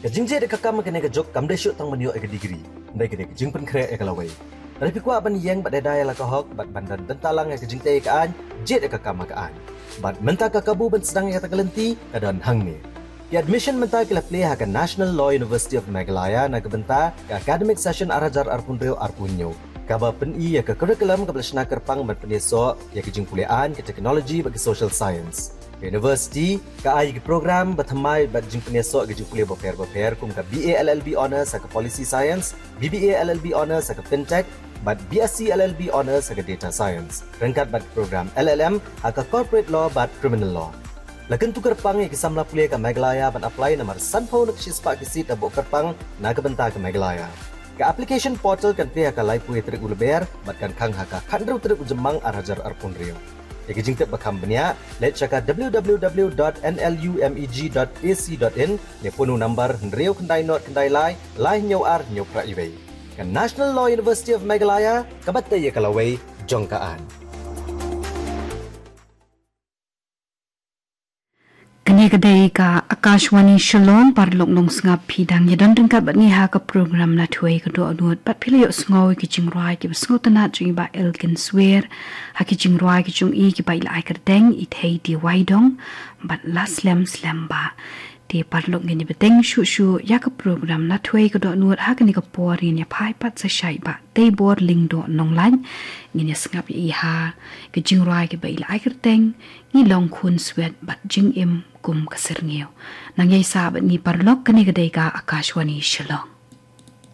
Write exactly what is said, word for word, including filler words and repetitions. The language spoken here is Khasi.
Ka jingjied ïa ka kam ha kane ka juk kam dei shuh tang ban ïoh ïa ka degree, hynrei ka dei ka jingpynkhreh ïa ka lawei. Lada phi kwah ban ïeng bad ïada ïa la ka hok bad ban don bynta lang ïa ka jingtei ïa ka aiñ, jied ïa ka kam ha ka aiñ. Bad mynta ka kabu ban sdang ïa kata ka lynti ka don hangne. Ki admission mynta ki la plie ha ka National Law University of Meghalaya na ka bynta ka academic session ar hajar arphew hynriew arphew hynñiew, kaba pyni ïa ka curriculum kaba la shna kyrpang ban pynïasoh ïa ka jingpule aiñ, ka technology bad ka social science. Ka university ka ai ki program ba thymmai bad jingpynïasoh ïa ka jingpule bapher bapher, kum ka B A L L B Honours ha ka Policy Science, B B A L L B Honours ha ka Fintech, bad B Sc L L B Honours ha ka Data Science, ryngkat bad program L L M ha ka Corporate Law bad Criminal Law. La kyntu kyrpang ïa ki samla pule ka Meghalaya ban apply namar sanphew na ka shispah ki seat la buh kyrpang na ka bynta ka Meghalaya. Ka application portal kan plie ha ka laiphew tarik u Lber bad kan khang ha ka khathynriew tarik u Jymmang ar hajar arphew hynriew. Ïa ki jingtip ba kham bniah, leit sha ka W W W dot N L U M E G dot A C dot in ne phone u number hynriew khyndai nod khyndai lai, lai hynñiew ar hynñiew phra iwei. Ka National Law University of Meghalaya, kaba tei ïa ka lawei jong ka aiñ. Kane ka dei ka Akashvani Shillong. Paralok nongsngap, phi dang ïa don ryngkat bad ngi ha ka program Nathuei ka Dohnud, bad phi la ïohsngew ïa ki jingrwai kiba sngewtynnat jong i Bah Elgin Swer, ha ki jingrwai ki jong i kiba i la ai kyrteng I Thei Dei Waidong bad La Slem Slem Bah. Te paralok, ngin ïa bteng shuh shuh ïa ka program Nathuei ka Dohnud ha kane ka por, ngin ïa phai pat sa sha i Bah Teibor Lyngdoh Nonglait. Ngin ïa sngap ïa i ha ki jingrwai kiba i la ai kyrteng Ngi Long Khun Swet bad Jingim Kum ka Syrngiew. Nang ïai sah bad ngi paralok, kane ka dei ka Akashvani Shillong.